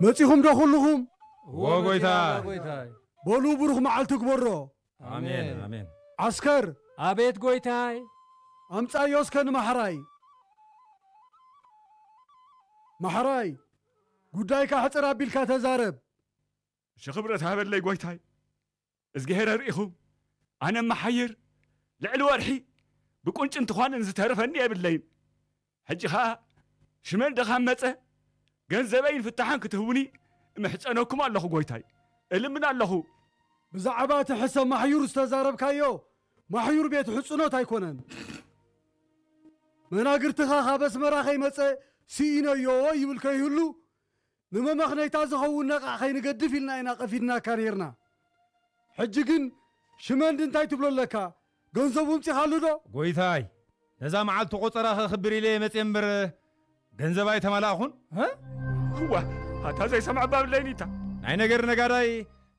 መጺኹም ዶ ኩልኹም? እዎ ጎይታ። ጎይታይ። በሉ ብሩኽ መዓልቲ ግበሮ። ኣሜን፣ ኣሜን። ዓስከር፣ ኣቤት ጎይታይ። ኣምጻዮ እስከ ንማሕራይ። ማሕራይ፣ ጉዳይካ ሕጽር ኣቢልካ ተዛረብ። እሺ ክብረት ሃበለይ ጎይታይ። እዝግሄር ኣርኢኹም። ኣነ መሓይር ልዕሊ ወርሒ ብቁንጭን ትዃንን ዝተረፈኒ የብለይን። ሕጂ ኸኣ ሽመል ድኻም መጸ፣ ገንዘበይን ፍታሕን ክትህቡኒ እምሕጸነኩም ኣለኹ ጎይታይ። እልምን ኣለኹ። ብዛዕባ እቲ ሕሰብ ማሕዩር ዝተዛረብካዮ፣ ማሕዩር ቤት ሕጽኖት ኣይኮነን። መናግርትኻ ካብ ኣስመራ ከይመጸ ስኢነዮ ይብል ከይህሉ፣ ንመመኽነይታ ዝኸውን ነቓዕ ከይንገድፍ ኢልና ኢና ቀፊድናካ ነይርና። ሕጂ ግን ሽመንዲ እንታይ ትብሎ ኣለካ? ገንዘቡ ኣምጺኻሉ ዶ? ጎይታይ፣ ነዛ መዓልቲ ቆጸራ ከኽብር ኢለ እየ መጽየ እምበር፣ ገንዘብ ኣይተማላእኹን። እዋ፣ ኣታ ዘይሰምዐ ባብለይኒታ። ናይ ነገር ነጋዳይ፣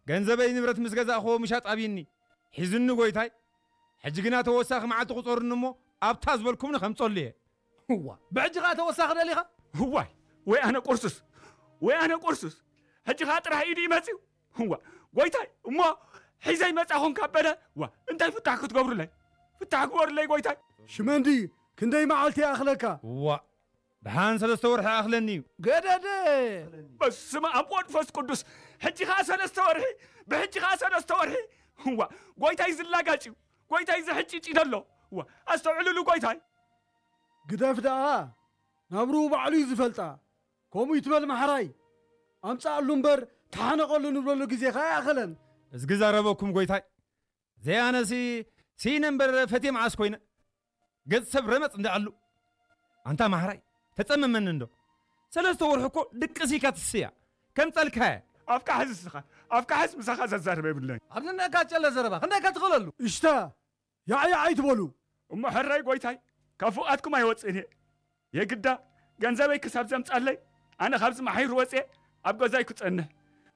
ገንዘበይ ንብረት ምስ ገዛእኽዎ ምሻጥ ኣብይኒ። ሒዝኒ ጎይታይ። ሕጂ ግና ተወሳኺ መዓልቲ ቁጸሩኒ እሞ፣ ኣብታ ዝበልኩምኒ ከምጸሉ እየ። እዋ፣ ብሕጂ ኸኣ ተወሳኺ ደሊኻ? እዋይ፣ ወይ ኣነ ቁርሱስ፣ ወይ ኣነ ቁርሱስ። ሕጂ ኸኣ ጥራሕ ኢዱ ይመጽዩ። እዋ፣ ጎይታይ፣ እሞ ሒዘ ይመጻኹም ካብ በለ፣ እዋ፣ እንታይ ፍታሕ ክትገብሩለይ? ፍታሕ ግበሩለይ ጎይታይ። ሽመንዲ፣ ክንደይ መዓልቲ ይኣኽለካ? እዋ፣ ደሓን ሰለስተ ወርሒ ይኣኽለኒ እዩ። ገደደ! በስመ ኣብ ወመንፈስ ቅዱስ። ሕጂ ኸኣ ሰለስተ ወርሒ፣ ብሕጂ ኸኣ ሰለስተ ወርሒ። እዋ፣ ጎይታይ ዝላጋጭ እዩ። ጎይታይ ዝሕጭጭ እዩ ዘሎ። እዋ፣ ኣስተውዕልሉ ጎይታይ። ግደፍ ደኣ፣ ናብርኡ ባዕሉ እዩ ዝፈልጣ። ከምኡ ይትበል ማሕራይ። ኣምጻኣሉ እምበር ተሓነቐሉ ንብለሉ ግዜ ኸኣ ይኣኸለን። እዝጊ ዛረበኩም ጎይታይ። ዘይኣነሲ ስኢነ እምበር ፈትየ መዓስ ኮይነ። ገጽ ሰብ ረመጽ እንዳኣሉ። ኣንታ ማሕራይ፣ ተጸመመኒ እንዶ። ሰለስተ ወርሒ እኮ ድቅስ ኢልካ ትስያ። ከምጸልካየ። ኣፍካ ሕዝ እስኻ፣ ኣፍካ ሕዝ ምሳኻ ዘዛርብ የብለይን። ኣብ ንነካ ጨለ ዘረባ፣ ክንደይ ከትኽእለሉ? እሽታ፣ ያዕ ያዕ ኣይትበሉ። እሞ ሕራይ ጎይታይ፣ ካብ ፉቓትኩም ኣይወጽእን እየ። የግዳ ገንዘበይ ክሳብ ዘምጻለይ፣ ኣነ ካብዚ ማሕዩር ወጽየ ኣብ ገዛይ ክጸንሕ፣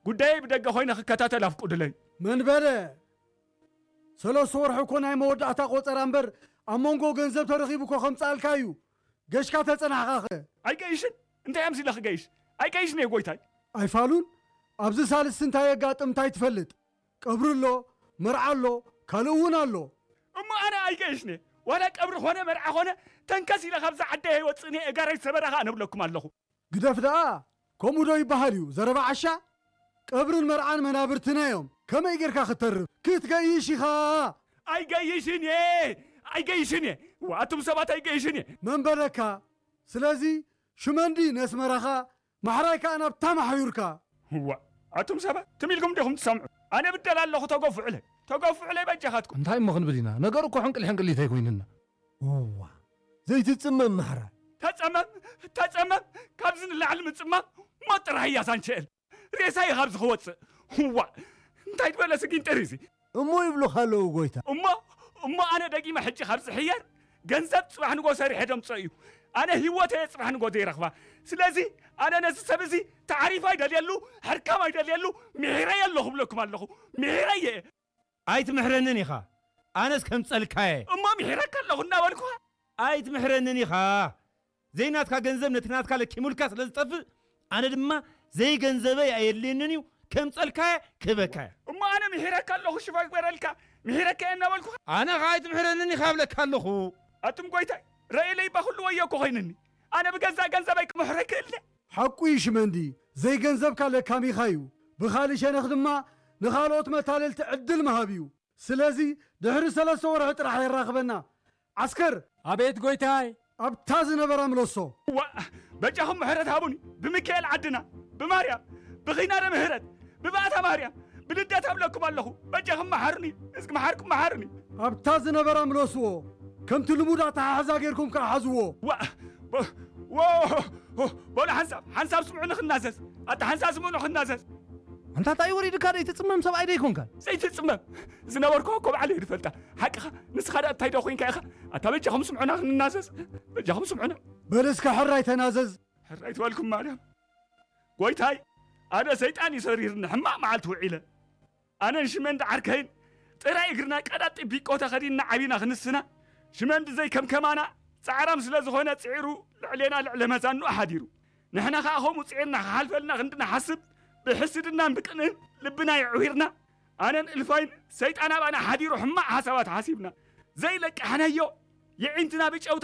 ጉዳየይ ብደገ ኮይነ ክከታተል ኣፍቁድለይ። መን በለ? ሰለስተ ወርሒ እኮ ናይ መወዳእታ ቆጸራ እምበር፣ ኣብ መንጎ ገንዘብ ተረኺቡ እኮ ከምጽኣልካ እዩ። ገሽካ ተጸናሕኻኸ? ኣይገይሽን? እንታይ ኣምሲለ ክገይሽ? ኣይገይሽን እየ ጎይታይ። ኣይፋሉን? ኣብዚ ሳልስቲ እንታይ የጋጥም እንታይ ትፈልጥ? ቀብሪ ኣሎ፣ መርዓ ኣሎ፣ ካልእ እውን ኣሎ። እሞ ኣነ ኣይገይሽን እየ። ዋላ ቀብሪ ኾነ መርዓ ኾነ፣ ተንከስ ኢለ ካብዛ ዓደይ ኣይወጽእን እየ፣ እጋረይ ሰበራ ኸኣ ንብለኩም ኣለኹ። ግደፍ ደኣ፣ ከምኡ ዶ ይበሃል እዩ? ዘረባ ዓሻ? ቀብርን መርዓን መናብርትና እዮም። ከመይ ጌርካ ክትተርፍ? ክትገይሽ ኢኻ። ኣይገይሽን እየ፣ ኣይገይሽን እየ። እዋ፣ ኣቱም ሰባት ኣይገይሽን እየ። መን በለካ? ስለዚ ሽመንዲ ነስመራኻ፣ ማሕራይ ከኣ ናብታ ማሕዩርካ። እዋ፣ ኣቱም ሰባት ትም ኢልኩም ዲኹም ትሰምዑ? ኣነ ብደል ኣለኹ፣ ተገፍዑለይ፣ ተገፍዑለይ በጃኻትኩም። እንታይ እሞ ክንብል ኢና? ነገሩ እኮ ሕንቅል ሕንቅሊት ኣይኮይንና። እዋ፣ ዘይትጽመም ማሕራይ። ተጸመም፣ ተጸመም፣ ካብዚ ንላዕሊ ምጽማም ሞት ጥራሕ እያ ሳንቸኤል። ሬሳይ ካብዚ ክወጽእ። እዋ፣ እንታይ ዝበለ ስጊንጥር እዚ? እሞ ይብሉኻ ኣለዉ ጎይታ። እሞ፣ እሞ ኣነ ደጊመ ሕጂ ካብ ዝሕየር፣ ገንዘብ ጽባሕ ንጎ ሰሪሐ ደምጾ እዩ። ኣነ ህይወት እየ ጽባሕ ንጎ ዘይረኽባ። ስለዚ ኣነ ነዚ ሰብ እዚ ታዕሪፍ ኣይደልየሉ፣ ሕርካም ኣይደልየሉ፣ ምሒረየ ኣለኹ እብለኩም ኣለኹ። ምሒረየ። ኣይትምሕረንን ኢኻ። ኣነስ ከምጸልካየ። እሞ ምሒረካ ኣለኹ እናበልኩኻ። ኣይትምሕረንን ኢኻ። ዘይናትካ ገንዘብ ነቲ ናትካ ለኪሙልካ ስለ ዝጠፍእ፣ ኣነ ድማ ዘይገንዘበይ ኣየድልየንን እዩ፣ ከምጸልካየ ክህበካየ። እሞ ኣነ ምሒረካ ኣለኹ፣ ሽፋ ግበረልካ፣ ምሒረካየ እናበልኩኻ። ኣነ ኸኣ ኣይትምሕረንን ኢኻ እብለካ ኣለኹ። ኣቱም ጐይታይ፣ ረእየለይ እባ ኩሉ ወዮ እኮ ኾይንኒ። ኣነ ብገዛእ ገንዘበይ ክምሕሮ ይክእል ድየ? ሓቁ እዩ ሽመንዲ፣ ዘይገንዘብካ ለካሚኻ እዩ። ብኻልእ ሸነኽ ድማ ንኻልኦት መታለልቲ ዕድል ምሃብ እዩ። ስለዚ ድሕሪ ሰለስተ ወርሒ ጥራሕ የራኽበና። ዓስከር! ኣቤት ጐይታይ። ኣብታ ዝነበራ ምለሶ። ዋእ! በጃኹም ምሕረት ሃቡኒ። ብሚካኤል ዓድና፣ ብማርያም፣ ብኺዳነ ምሕረት፣ ብባእታ ማርያም፣ ብልደታ እብለኩም ኣለኹ። በጃኹም መሓሩኒ። እስኪ መሓርኩም መሓሩኒ። ኣብታ ዝነበራ ምለስዎ። ከምቲ ልሙድ ኣተሓሕዛ ጌርኩም ከኣ ሓዝዎ። ዋእ! በ-፣ ወ-፣ በሉ ሓንሳብ፣ ሓንሳብ ስምዑኒ ክናዘዝ። ኣታ ሓንሳብ ስምዑኒ ክናዘዝ። ኣንታ እንታይ ወሪድካ ደይ ትጽመም ሰብኣይ ደይ ኮንካ? ዘይትጽመም ዝነበርኩ እኮ ባዕለይ ዝፈልጣ። ሓቅኻ ንስኻ ደኣ እንታይ ዶ ኮንካ ኢኻ? ኣታ በጃኹም ስምዑና ክንናዘዝ። በጃኹም ስምዑና። በል እስከ ሕራይ ተናዘዝ። ሕራይ ትበልኩም ማርያም። ጎይታይ ኣነ ሰይጣን እዩ ሰሪርኒ ሕማቕ መዓልቲ ውዒለ። ኣነን ሽመንዲ ዓርከይን ጥራይ እግርና ቀዳጢ ቢቆ ተኸዲንና ዓቢና ክንስና ሽመንዲ ዘይከምከማና ጻዕራም ስለ ዝኾነ ጽዒሩ ልዕሌና ልዕለ መዛንኡ ሓዲሩ። ንሕና ኸኣ ከምኡ ጽዒርና ክሓልፈልና ክንዲ ንሓስብ፣ ብሕስድናን ብቅንእን ልብና የዕዊርና። ኣነን እልፋይን ሰይጣን ኣባና ሓዲሩ ሕማቕ ሓሳባት ሓሲብና። ዘይለቃሕናዮ የዒንትና ብጨው